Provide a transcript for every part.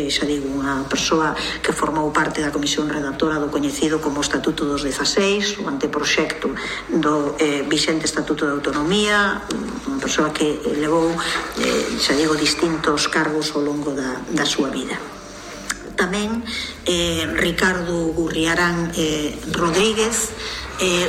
xa digo, unha persoa que formou parte da comisión redactora do coñecido como Estatuto dos 16, o anteproxecto do vixente Estatuto de Autonomía, unha persoa que levou, xa digo, distintos cargos ao longo da súa vida. Tamén Ricardo Gurriarán Rodríguez,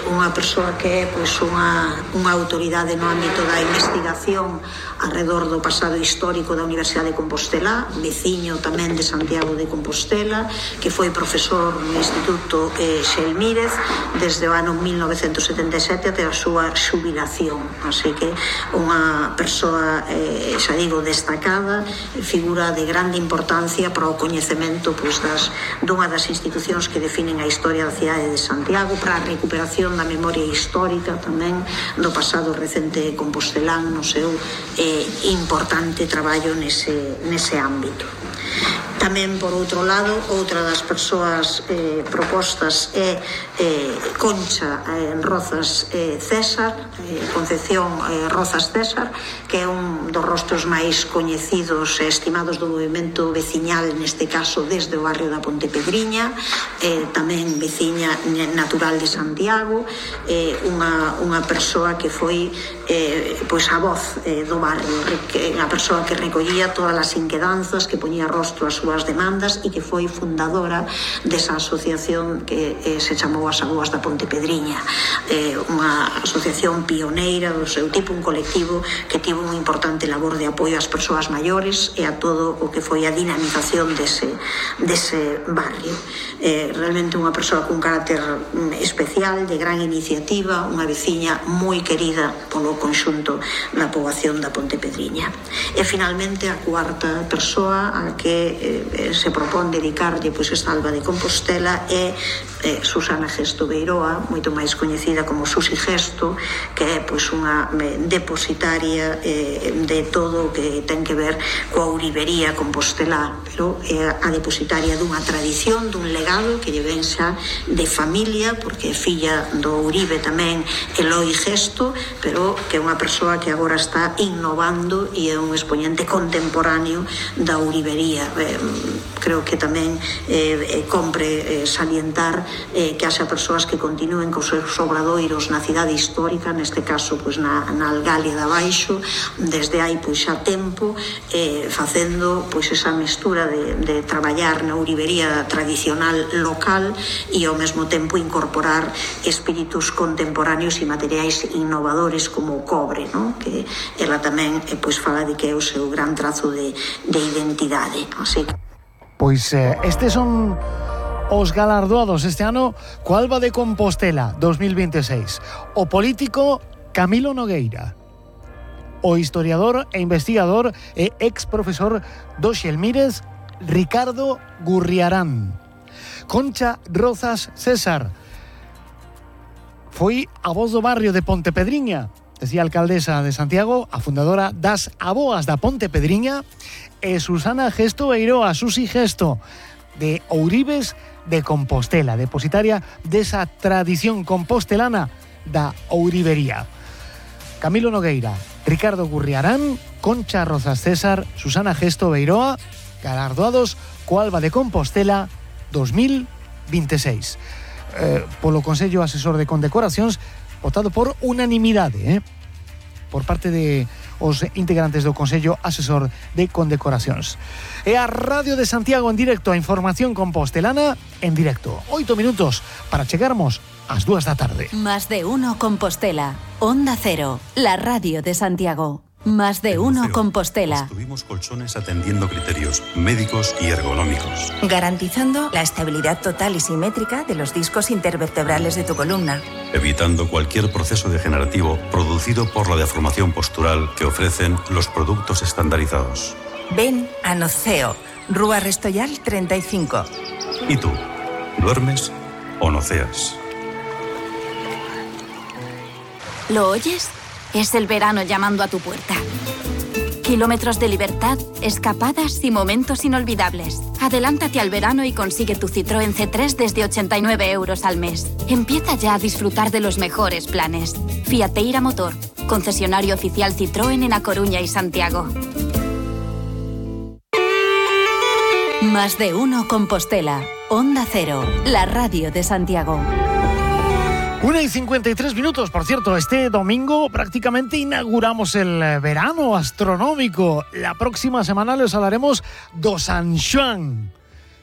unha persoa que é unha autoridade no ámbito da investigación arredor do pasado histórico da Universidade de Compostela, veciño tamén de Santiago de Compostela, que foi profesor no Instituto Xelmírez desde o ano 1977 até a súa xubilación. Así que unha persoa, xa digo, destacada, figura de grande importancia para o coñecemento dunha das institucións que definen a historia da cidade de Santiago, para a recuperación da memoria histórica tamén do pasado recente compostelán no seu importante traballo nese ámbito. Tamén, por outro lado, outra das persoas propostas é Concha Rozas César, Concepción Rozas César, que é un dos rostros máis coñecidos e estimados do movimento veciñal, neste caso desde o barrio da Pontepedriña, tamén veciña natural de Santiago, unha persoa que foi a voz do barrio, a persoa que recollía todas as inquedanzas, que poñía rostro ás súas demandas e que foi fundadora desa asociación que se chamou As Aboas da Pontepedriña, unha asociación pioneira do seu tipo, un colectivo que tivo unha importante labor de apoio ás persoas maiores e a todo o que foi a dinamización dese barrio. Realmente unha persoa cun carácter especial, de gran iniciativa, unha veciña moi querida polo conxunto da poboación da Pontepedriña. E finalmente a cuarta persoa a que se propón dedicarlle esta Alba de Compostela é Susana Gesto Beiroa, moito máis coñecida como Susi Gesto, que é unha depositaria de todo o que ten que ver coa ourivería compostelá, pero é a depositaria dunha tradición, dun legado que lle ven xa de familia, porque é filla do ourive tamén Eloi Gesto, pero que é unha persoa que agora está innovando e é un expoñente contemporáneo da ourivería. Creo que tamén compre salientar que haxa persoas que continúen cos seus obradoiros na cidade histórica, neste caso na Algalia de Abaixo, desde hai xa tempo, facendo esa mestura de traballar na ourivería tradicional local e ao mesmo tempo incorporar espíritus contemporáneos e materiais innovadores como o cobre, que ela tamén fala de que é o seu gran trazo de identidade. Así que estes son os galardoados este ano co Alba de Compostela 2026. O político Camilo Nogueira, o historiador e investigador e ex profesor do Xelmírez Ricardo Gurriarán, Concha Rozas César, foi a voz do barrio de Pontepedriña, decía a alcaldesa de Santiago, a fundadora das Aboas da Pontepedriña, e Susana Gesto Beiroa, Susi Gesto, de Ourives de Compostela, depositaria desa tradición compostelana da ourivería. Camilo Nogueira, Ricardo Gurriarán, Concha Rozas César, Susana Gesto Beiroa, galardoados co Alba de Compostela 2026. Polo Consello Asesor de Condecoracións, votado por unanimidade, por parte de os integrantes do Consello Asesor de Condecoracións. E a Radio de Santiago en directo, a información compostelana en directo. 8 minutos para chegarmos ás 2 da tarde. Más de uno Compostela. Onda Cero, la radio de Santiago. Más de uno Compostela. Construimos colchones atendiendo criterios médicos y ergonómicos, garantizando la estabilidad total y simétrica de los discos intervertebrales de tu columna, evitando cualquier proceso degenerativo producido por la deformación postural que ofrecen los productos estandarizados. Ven a Noceo, Rúa Restoyal 35. ¿Y tú? ¿Duermes o noceas? ¿Lo oyes? Es el verano llamando a tu puerta. Kilómetros de libertad, escapadas y momentos inolvidables. Adelántate al verano y consigue tu Citroën C3 desde 89 € al mes. Empieza ya a disfrutar de los mejores planes. Fiateira Motor, concesionario oficial Citroën en A Coruña y Santiago. Más de uno Compostela. Onda Cero, la radio de Santiago. 1:53, por cierto, este domingo prácticamente inauguramos el verano astronómico. La próxima semana les hablaremos do San Xoán.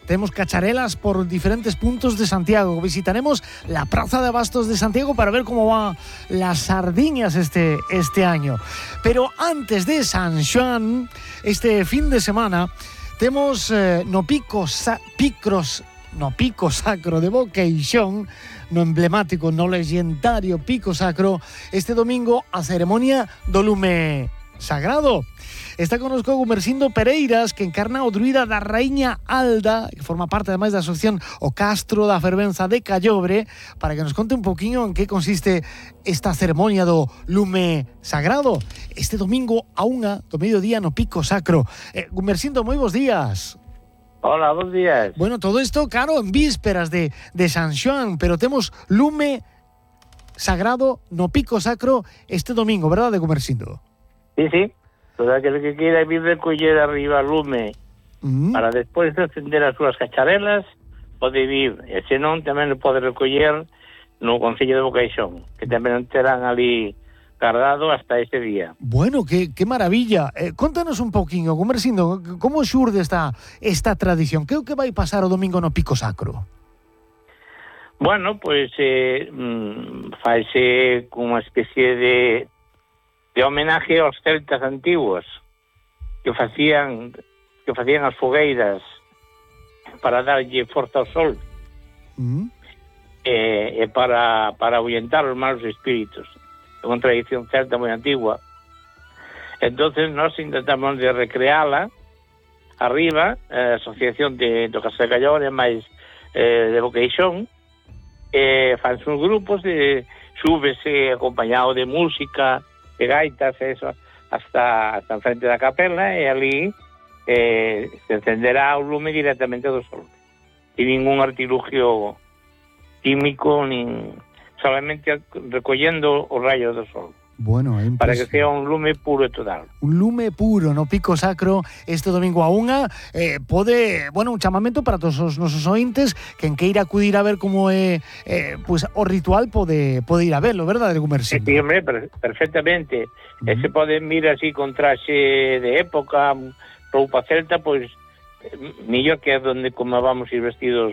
Tenemos cacharelas por diferentes puntos de Santiago. Visitaremos la Plaza de Abastos de Santiago para ver cómo van las sardiñas este año. Pero antes de San Xoán, este fin de semana, tenemos no pico sacro de Boqueixón, no emblemático, no legendario pico sacro, este domingo a ceremonia do lume sagrado. Está connosco Gumersindo Pereiras, que encarna o druida da Raíña Alda, que forma parte además da asociación O Castro da Fervenza de Callobre, para que nos conte un poquinho en que consiste esta ceremonia do lume sagrado. Este domingo a 1 do mediodía no pico sacro. Gumersindo, moi bons días. Hola, bons días. Bueno, todo esto, claro, en vísperas de San Xoán, pero temos lume sagrado no pico sacro este domingo, verdade, Gumersindo? Sí. Todo aquel que quiera vir recoller arriba lume para despois de encender as súas cacharelas pode vir, e se non tamén o pode recoller no Concello de Boqueixón, que tamén terán ali guardado hasta ese día. Bueno, qué maravilla. Contanos un poquinho, Gumersindo, como xurde esta tradición? Que é o que vai pasar o domingo no pico sacro? Bueno, pois faise unha especie de homenaje aos celtas antiguos que facían as fogueiras para darlle forza ao sol e para ahuyentar os malos espíritus. É unha tradición celta moi antigua. Entonces nós intentamos de recreala arriba, a asociación do Castro de Callobre máis de Boqueixón, fanse uns grupos, súbese acompañado de música, de gaitas, eso, hasta enfrente da capela, e ali se encenderá o lume directamente do sol. Sin ningún artilugio químico, solamente recollendo os rayos do sol. Bueno, para que sea un lume puro e total. Un lume puro no pico sacro este domingo a 1. Pode, bueno, un chamamento para todos os nosos ointes, quen queira acudir a ver como é pues, o ritual pode ir a verlo, verdade, Gumersindo? Sí, hombre, perfectamente. E se poden vir así con traxe de época, roupa celta, pois mellor que é donde como vamos ir vestidos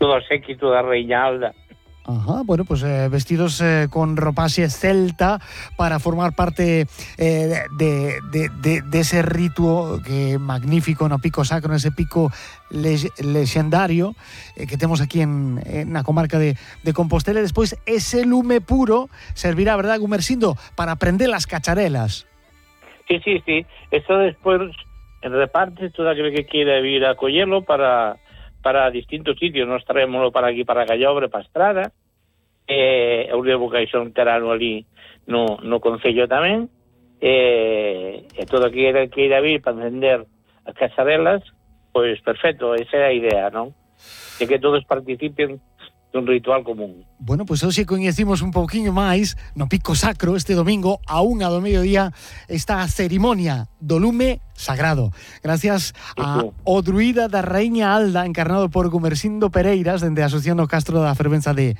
todo o séquito da Raíña Alda. Ajá, bueno, pues vestidos con ropaxe celta para formar parte de ese rituo que magnífico no pico sacro, ese pico lexendario que temos aquí en la comarca de Compostela. E despois ese lume puro servirá, verdad, Gumersindo, para prender las cacharelas. Sí. Eso despois reparte todo aquel que quiera vir a collelo para distintos sitios. Nos traémoslo para aquí, para Callobre, para Estrada, o de Boqueixón terano ali no Concello tamén, e todo aquele que irá vir para encender as cacharelas, pois perfecto, esa é a idea, non? De que todos participen dun ritual común. Bueno, pois hoxe coñecimos un pouquiño máis no pico sacro este domingo a 1 do mediodía esta cerimonia do lume sagrado. Gracias a o druida da Raíña Alda, encarnado por Gumersindo Pereiras, dende a Asociación O Castro da Fervenza de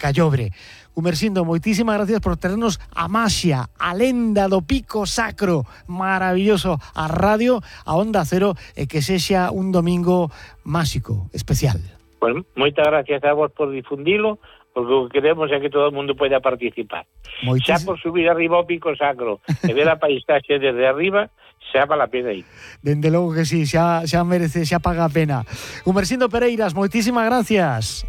Callobre. Gumersindo, moitísimas gracias por traernos a maxia, a lenda do pico sacro maravilloso a radio, a Onda Cero, e que sexa un domingo máxico, especial. Pues moitas gracias a vos por difundilo, porque o que queremos é que todo o mundo poida participar. Xa por subir arriba ao pico sacro e ver a paisaxe desde arriba, xa vale a pena ir. Dende logo que sí, xa merece, xa paga a pena. Gumersindo Pereiras, moitísimas gracias.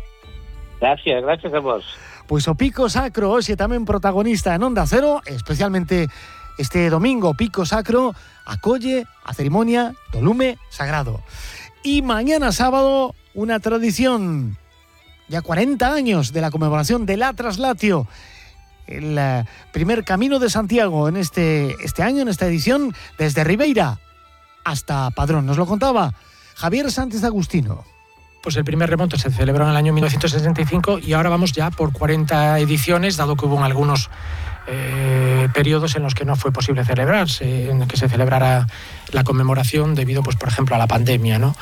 Gracias a vos. Pois o pico sacro hoxe tamén protagonista en Onda Cero, especialmente este domingo pico sacro acolle a ceremonia do lume sagrado. Y mañana sábado, una tradición, ya 40 años de la conmemoración del Atraslatio, el primer Camino de Santiago en este año, en esta edición, desde Ribeira hasta Padrón. Nos lo contaba Javier Sánchez Agustino. Pues el primer remonte se celebró en el año 1965 y ahora vamos ya por 40 ediciones, dado que hubo algunos periodos en los que no fue posible celebrarse, en que se celebrara la conmemoración debido, pues por ejemplo, a la pandemia, ¿no?